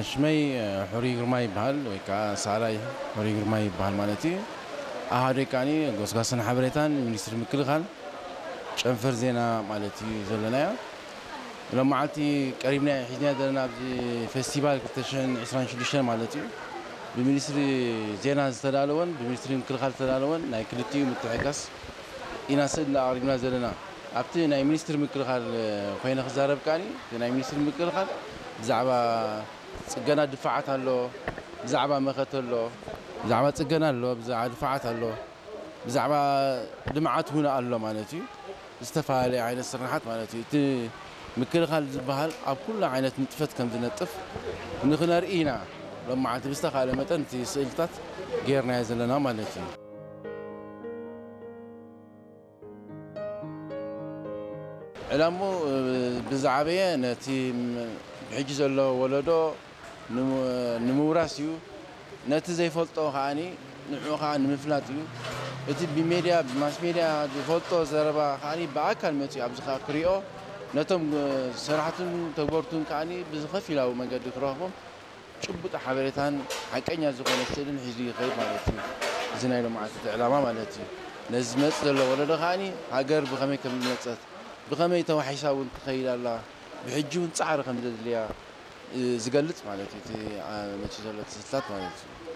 ሽመይ ሕሩይ ግርማ ይበሃል፣ ወይ ከዓ ሳላይ ሕሩይ ግርማ ይበሃል ማለት እዩ። ኣሃደይ ከዓኒ ጎስጓስን ሓበሬታን ሚኒስትሪ ምክልኻል ጨንፈር ዜና ማለት እዩ ዘለናዮ። ሎም መዓልቲ ቀሪብና ሒዝና ዘለና ኣብዚ ፌስቲቫል ክልተ ሽሕን ዕስራን ሽዱሽተን ማለት እዩ፣ ብሚኒስትሪ ዜና ዝተዳለወን ብሚኒስትሪ ምክልኻል ዝተዳለወን ናይ ክልቲኡ ምትሕጋስ ኢና ስእሊ ኣቕሪብና ዘለና። ኣብቲ ናይ ሚኒስትሪ ምክልኻል ኮይነ ክዛረብ ከዓኒ፣ እቲ ናይ ሚኒስትሪ ምክልኻል ብዛዕባ ጽገና ድፋዓት ኣሎ፣ ብዛዕባ መኸተ ኣሎ፣ ብዛዕባ ጽገና ኣሎ፣ ብዛዕባ ድፋዓት ኣሎ፣ ብዛዕባ ልምዓት እውን ኣሎ ማለት እዩ። ዝተፈላለየ ዓይነት ስርሓት ማለት እዩ። እቲ ምክልኻል ዝበሃል ኣብ ኩሉ ዓይነት ንጥፈት ከም ዝነጥፍ ንክነርኢ ኢና ሎም መዓልቲ ብዝተኻለ መጠን እቲ ስእልታት ጌርናዮ ዘለና ማለት እዩ። ዕላሙ ብዝዓበየ ነቲ ሕጂ ዘሎ ወለዶ ንምውራስ እዩ። ነቲ ዘይፈልጦ ከዓኒ ንዕኡ ከዓ ንምፍላጥ እዩ። እቲ ብሜድያ ብማስ ሜድያ ዝፈልጦ ዘረባ ከዓኒ ብኣካል መፅኡ ኣብዚ ከዓ ክሪኦ፣ ነቶም ሰራሕቱን ተግበርቱን ከዓኒ ብዝኸፊላዊ መንገዲ ክረኽቦም ጭቡጥ ሓበሬታን ሓቀኛ ዝኾነ ስእልን ሒዙ ይኸይድ ማለት እዩ። እዚ ናይ ሎማዓንቲ ዕላማ ማለት እዩ። ነዚ ዝመፅእ ዘሎ ወለዶ ከዓኒ ሃገር ብኸመይ ከም ዝመፀት፣ ብኸመይ ተዋሒሳ እውን ትኸይድ ኣላ፣ ብሕጂ እውን ፃዕሪ ከም ዘድልያ ዝገልፅ ማለት እዩ። እቲ መፅኡ ዘሎ ትስልታት ማለት እዩ።